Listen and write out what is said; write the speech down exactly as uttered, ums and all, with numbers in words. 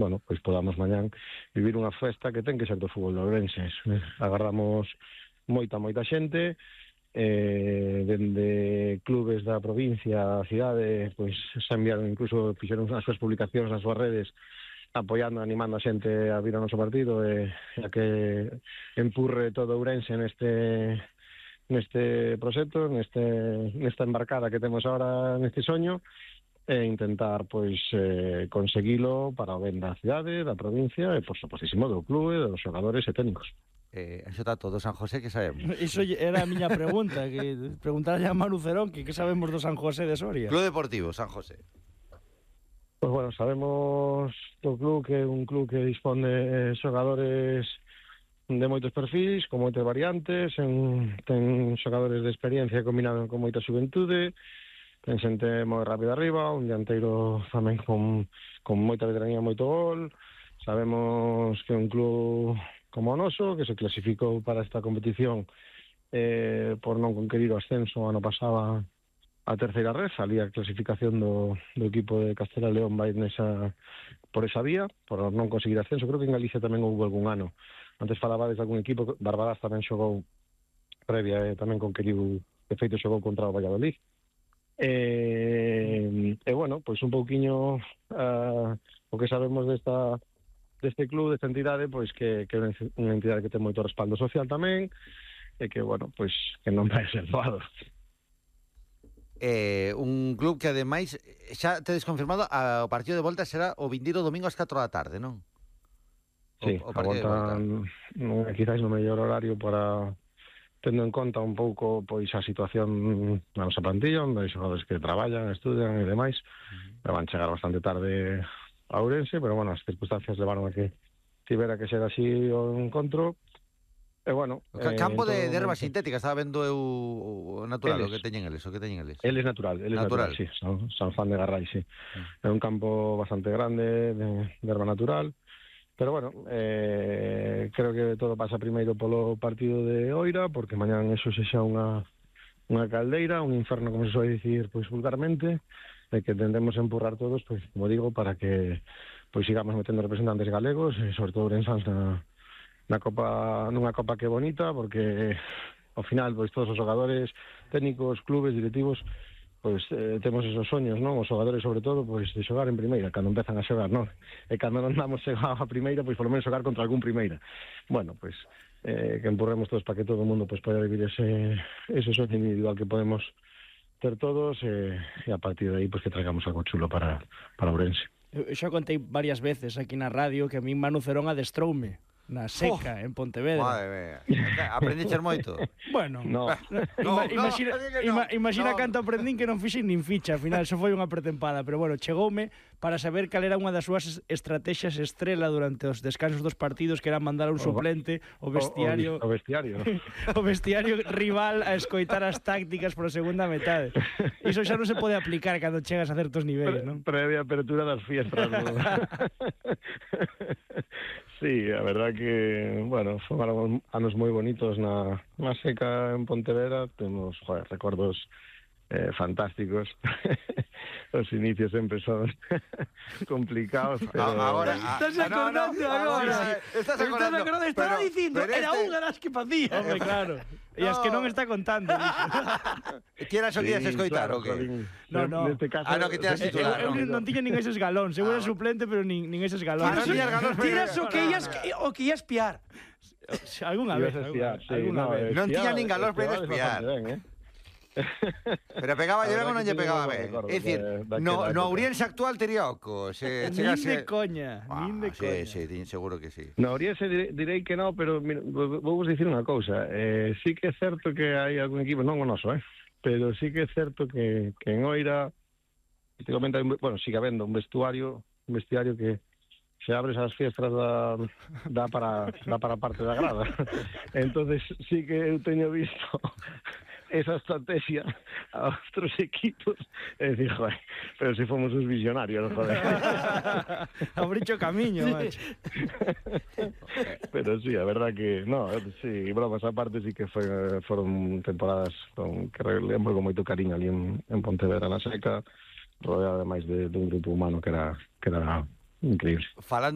bueno, pois podamos mañán vivir unha festa que ten que ser do fútbol de Ourense. Agardamos moita, moita xente, eh, dende clubes da provincia, a cidade, pois se enviaron, incluso fixeron as súas publicacións nas súas redes, apoiando, animando a xente a vir ao noso partido e a que empurre todo Ourense neste neste proxecto, neste nesta embarcada que temos ahora neste soño, e intentar, pois, eh, conseguilo para o ben da cidade, da provincia e, por supostísimo, do clube, dos xogadores e técnicos. Eh, eso está todo San José, que sabemos? Iso era a miña pregunta, que preguntarlle a Manu Cerón que que sabemos do San José de Soria. Club Deportivo San José. Pois, bueno, sabemos do club que é un club que dispón de xogadores de moitos perfis, con moitas variantes, en, ten xogadores de experiencia combinado con moita xuventude, ten xente moi rápida arriba, un dianteiro tamén con, con moita veteranía, moito gol. Sabemos que é un club como o noso, que se clasificou para esta competición eh, por non conquerir o ascenso ano pasado a terceira red, salía a clasificación do, do equipo de Castela León vai nesa, por esa vía, por non conseguir ascenso. Creo que en Galicia tamén houve algún ano. Antes falabades de algún equipo, Barbadas tamén xogou previa, e tamén conqueriu, de feito xogou contra o Valladolid. E, e bueno, pois un pouquiño uh, o que sabemos desta deste club, desta entidade, pois que, que é unha entidade que ten moito respaldo social tamén, e que, bueno, pois que non vai ser doado. Eh, un club que ademais xa tedes confirmado a, o partido de volta será o vindeiro domingo ás catro da tarde, non? Sí, o, o a volta non é quizás no mellor horario para, tendo en conta un pouco pois a situación na nosa plantilla, onde hai xogadores que traballan, estudian e demais, uh-huh. van chegar bastante tarde a Ourense, pero bueno, as circunstancias levaron a que tivera que ser así o encontro. E bueno, o campo eh, de, de erva sintética, estaba vendo eu o natural, eles, o que teñen eles, o que teñen eles. Eles natural, eles natural, natural sí, San, San Juan de Garrai, sí. Uh-huh. É un campo bastante grande de, de erva natural. Pero bueno, eh, creo que todo pasa primeiro polo partido de Oira, porque mañán eso sexa unha, unha caldeira, un inferno, como se soe dicir, pois vulgarmente, de que tendemos a empurrar todos, pois, como digo, para que pois sigamos metendo representantes galegos, e sobre todo ourensans na, na Copa, nunha Copa que bonita, porque ao final, pois todos os xogadores, técnicos, clubes, directivos, pois eh, temos esos soños, non? Os xogadores, sobre todo, pois de xogar en primeira, cando empezan a xogar, non? E cando non damos a primeira, pois polo menos xogar contra algún primeira. Bueno, pois eh, que empurremos todos para que todo o mundo pois poida vivir ese, ese soño individual que podemos ter todos, eh, e a partir de aí, pois que traigamos algo chulo para, para Ourense. Eu xa contei varias veces aquí na radio que a min Manu Cerón adestroume na Seca, oh, en Pontevedra. Madre mía. Aprendiches moito? Bueno, no. Ima, imagina, no, ima, imagina no. Canto aprendín que non fixen nin ficha, ao final, xo foi unha pretempada, pero bueno, chegoume para saber cal era unha das súas estrategias estrela durante os descansos dos partidos, que era mandar un suplente o vestiario o, o, o vestiario o vestiario rival a escoitar as tácticas por segunda metade. Iso xa non se pode aplicar cando chegas a certos niveis, non? Previa apertura das fiestas. Sí, a verdad que, bueno, foron anos moi bonitos na, na Seca en Pontevedra. Temos, joder, recordos eh, fantásticos. Os inicios sempre son complicados, pero... Ahora, estás acordando no, no, agora. Estás acordando. Estás acordando, estaba pero, dicindo, pero era este... unha das que facía. Hombre, claro. E as que non está contando. Quieras o quieras escoitar, o que? No, no. Neste caso, ah, no, que te has titular. Eu no. non tiña nin eses galóns. Eu era suplente, pero nin, nin eses galóns. Tiras o que ias o que ias espiar. Alguna vez, alguna vez. Non tiña nin galóns para espiar. Pero pegaba lle ben ou non lle pegaba ben? É dicir, no, no Ourense actual tería oco se chegase... Nin de coña, ah, nin de coña. Sí, sí, seguro que sí. No Ourense direi, direi que no, pero vou vos dicir unha cousa. Eh, sí que é certo que hai algún equipo, non o noso, eh? Pero sí que é certo que, que en Oira, bueno, sigue habendo un vestuario, un vestiario que se abres as fiestras da, da, para, da para parte da grada. Entonces sí que eu teño visto esa estrategia a outros equipos e dicir, joder, pero si fomos os visionarios, joder. Abricho camiño, sí. Macho. Pero sí, a verdad que, no, sí, bromas aparte, sí que foi, foron temporadas con, que lembro con moito cariño ali en, en Pontevedra na Seca, rodeada ademais de, de un grupo humano que era, que era increíble. Falando